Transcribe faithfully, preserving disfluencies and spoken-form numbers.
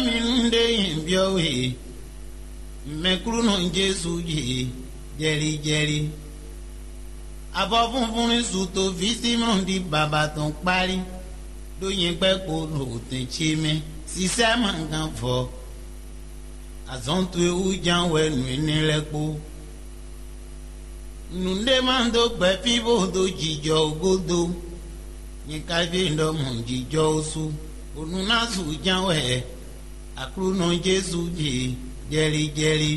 Mi nú ɖé nyi byɔ́ we, mɛkúlúnɔ Jezu jí jɛlíjɛlí. Avɔ funfun ní su toví Simɔ́ɔ ɖi baba tɔn kpálí, ɖó nyɛ gbɛ́ kpo ɖo tɛn ce mɛ, sísá ma gán vɔ. Azɔn towe wú ján wɛ nǔ énɛ́ lɛ́ɛ kpó. Nǔɖé ma dó gbɛ̌ fí bó dó jijɔ ó gúdo. Nyɛ ka ɖe ɖɔ mɔ jijɔ ó sú, bónú ná su ján wɛ Aklúnɔ Jezu jí jɛlíjɛlí.